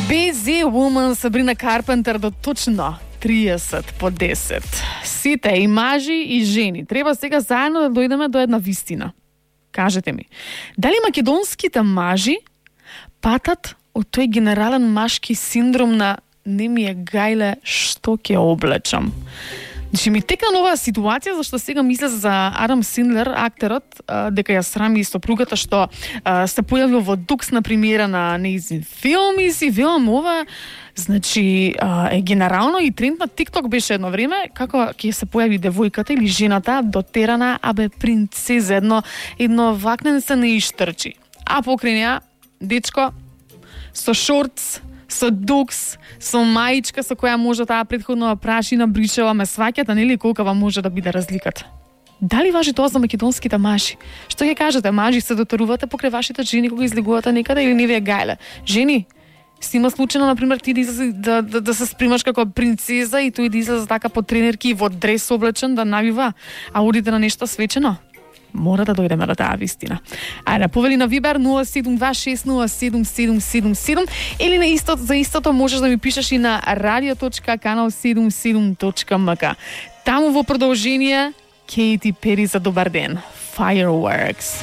BZ Woman Сабрина Карпентер до точно 30 по 10. Сите, и мажи и жени, треба сега заедно да дојдеме до една вистина. Кажете ми, дали македонските мажи патат од тој генерален машки синдром на не ми е гајле што ќе облечам? Значи ми текна нова ситуација, зашто сега мисля за Адам Синдлер, актерот, дека ја срами сопругата што се појавил во Дукс на премиера на нејзин филм и си велам ова, значи е генерално и тренд на TikTok беше едно време, како ќе се појави девојката или жената дотерана, абе принцеза, едно вакнен се не ishтрчи. А покрај неа, дечко, со шортс, со дукс, со маичка со која може таа претходно прашина бришева, ме сваќате, нели колкава може да биде разликата? Дали важи тоа за македонските мажи? Што ќе кажете, мажи се доторувате покрај вашите жени кога излегувате некаде или не ви е гајле? Жени, снима случајно, например, ти да се спремаш како принцеза и тој да излезе така по тренерки и во дрес облечен да навива, а одите на нешто свечено? Мора да дојдеме до таа вистина. Ајде, повели на Вибер 072607777 или за истото можеш да ми пишеш и на radio.canal77.mk. Таму во продолжение Кейти Пери за добар ден. Fireworks.